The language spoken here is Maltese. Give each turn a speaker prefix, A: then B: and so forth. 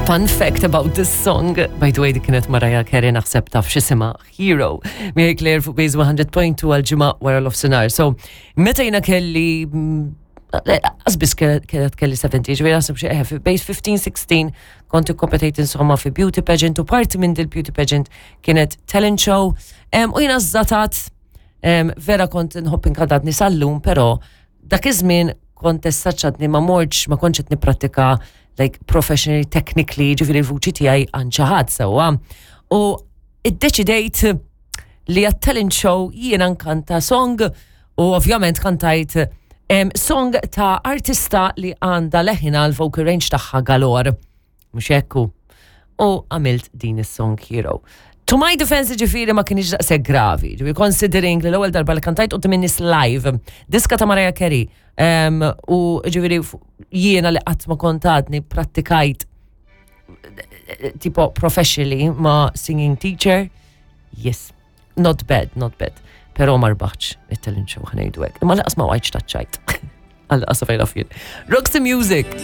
A: Fun fact about this song, by the way, di kienet Mariah Carey naħseb taf x'isima Hero. Mary Claire fuq Base 100.2 għal-ġimgħa wara l-ofsinar. So, meta jiena kelli Għazbis kienet kelli 70, ġveri għasib xie eh, bejn 15-16 kont kompetejt insomma fi beauty pageant u parti minn dil beauty pageant kienet talent show u jina zatat vera kont nħobb inkantat nisallum, pero dak iż-żmien kont essaċċatni ma mortx ma kontx qed nipprattika like professionally technically ġifieri l-vuċi tiegħi għand xi ħadd sewwa. U iddeċidejt li għat-talent show jiena nkanta song u ovvjament kantajt song ta' artista li għandha leħina l-vocal range tagħha galore. Mhux hekk hu. U għamilt din is-song Hero. To my defense ġifiri ma kienx daqshekk gravi, ġifiri considering li l-ewwel darba li kantajt u minnis live, diska ta' Mariah Carey, u ġifiri jiena li qatt ma kontatni prattikajt tipo professionally ma' singing teacher, yes, not bad, not bad. Pero ma rbaħx it-talent show ħanejdu hekk. Imma laqas ma wajċ taċċajt. Għal qasa fejn Roxy Music!